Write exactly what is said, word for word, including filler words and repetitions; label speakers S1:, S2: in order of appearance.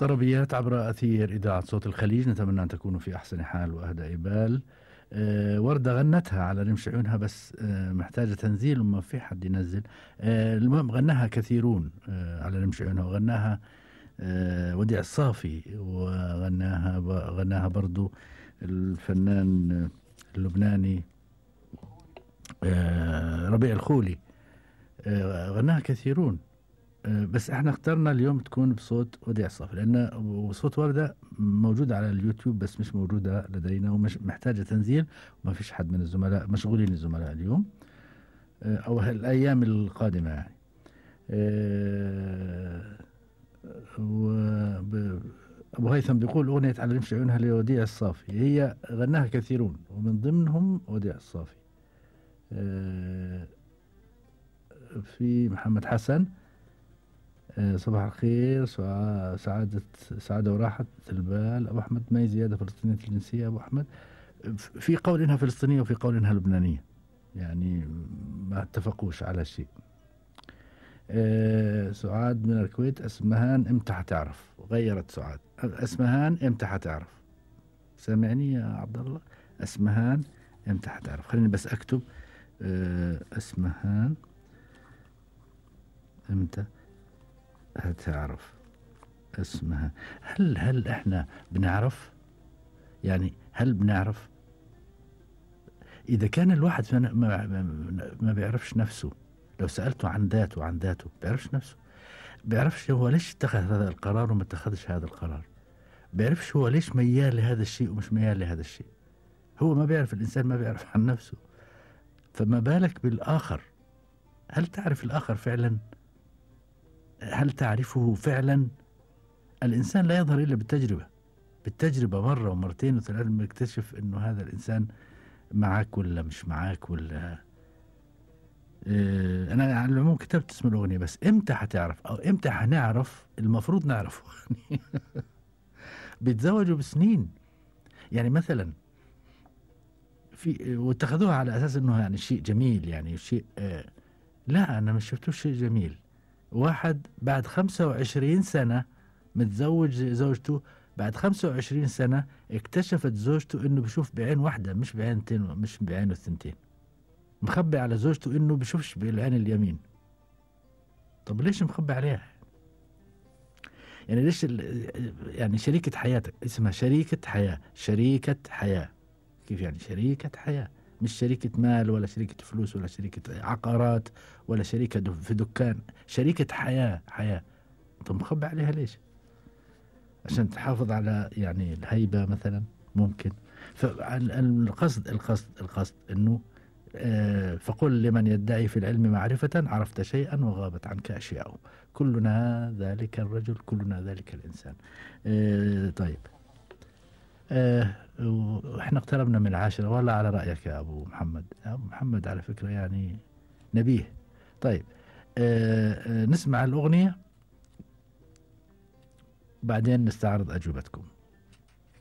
S1: طربيات عبر أثير إذاعة صوت الخليج، نتمنى أن تكونوا في أحسن حال وأهدأ بال. أه وردة غنتها على رمش عيونها، بس أه محتاجة تنزيل وما في حد ينزل. أه المهم غناها كثيرون أه على رمش عيونها، وغناها أه وديع الصافي، وغناها غناها برضو الفنان اللبناني أه ربيع الخولي. أه غناها كثيرون، بس احنا اخترنا اليوم تكون بصوت وديع الصافي، لان صوت وردة موجودة على اليوتيوب بس مش موجودة لدينا، ومش محتاجة تنزيل، وما فيش حد من الزملاء مشغولين الزملاء اليوم او الايام القادمة يعني. ابو هيثم بيقول اغنية على رمش عيونها لوديع الصافي، هي غناها كثيرون ومن ضمنهم وديع الصافي. في محمد حسن، صباح الخير، سعادة سعادة وراحة البال. أبو أحمد، ما هي زيادة فلسطينية الجنسية أبو أحمد؟ في قول إنها فلسطينية وفي قول إنها لبنانية، يعني ما اتفقوش على شيء. أه سعاد من الكويت، اسمهان امتى حتعرف؟ غيرت سعاد، اسمهان امتى حتعرف؟ سامعني يا عبد الله؟ اسمهان امتى حتعرف؟ خليني بس اكتب أه اسمهان امتى هتعرف اسمها. هل هل احنا بنعرف؟ يعني هل بنعرف؟ اذا كان الواحد ما, ما, ما بيعرفش نفسه، لو سألته عن ذاته عن ذاته بيعرفش نفسه، بيعرفش هو ليش اتخذ هذا القرار وما اتخذش هذا القرار، بيعرفش هو ليش ميال لهذا الشيء ومش ميال لهذا الشيء. هو ما بيعرف، الانسان ما بيعرف عن نفسه، فما بالك بالاخر؟ هل تعرف الاخر فعلا؟ هل تعرفه فعلا؟ الإنسان لا يظهر إلا بالتجربة، بالتجربة مرة ومرتين وثلاث بيكتشف إنه هذا الإنسان معك ولا مش معك ولا. إيه، أنا على العموم كتبت اسم الأغنية، بس إمتى حتعرف أو إمتى حنعرف؟ المفروض نعرفه. بيتزوجوا بسنين، يعني مثلا في واتخذوها على أساس إنه يعني شيء جميل، يعني شيء آه لا، أنا مش شفتوش شيء جميل. واحد بعد خمسة وعشرين سنة متزوج زوجته، بعد خمسة وعشرين سنة اكتشفت زوجته انه بشوف بعين واحدة مش بعينتين، مش بعينه الثنتين، مخبي على زوجته انه بشوفش بالعين اليمين. طب ليش مخبي عليها؟ يعني ليش يعني شريكة حياتك اسمها شريكة حياة، شريكة حياة كيف يعني شريكة حياة؟ مش شريكة مال ولا شريكة فلوس ولا شريكة عقارات ولا شريكة في دكان، شريكة حياة حياة. طب مخبي عليها ليش؟ عشان تحافظ على يعني الهيبة مثلا، ممكن. فالقصد القصد القصد انه آه فقل لمن يدعي في العلم معرفة عرفت شيئا وغابت عنك اشياء، كلنا ذلك الرجل كلنا ذلك الانسان. آه طيب، آه احنا اقتربنا من العاشرة، ولا على رأيك يا ابو محمد؟ ابو محمد على فكرة يعني نبيه. طيب، آه آه نسمع الأغنية بعدين نستعرض أجوبتكم.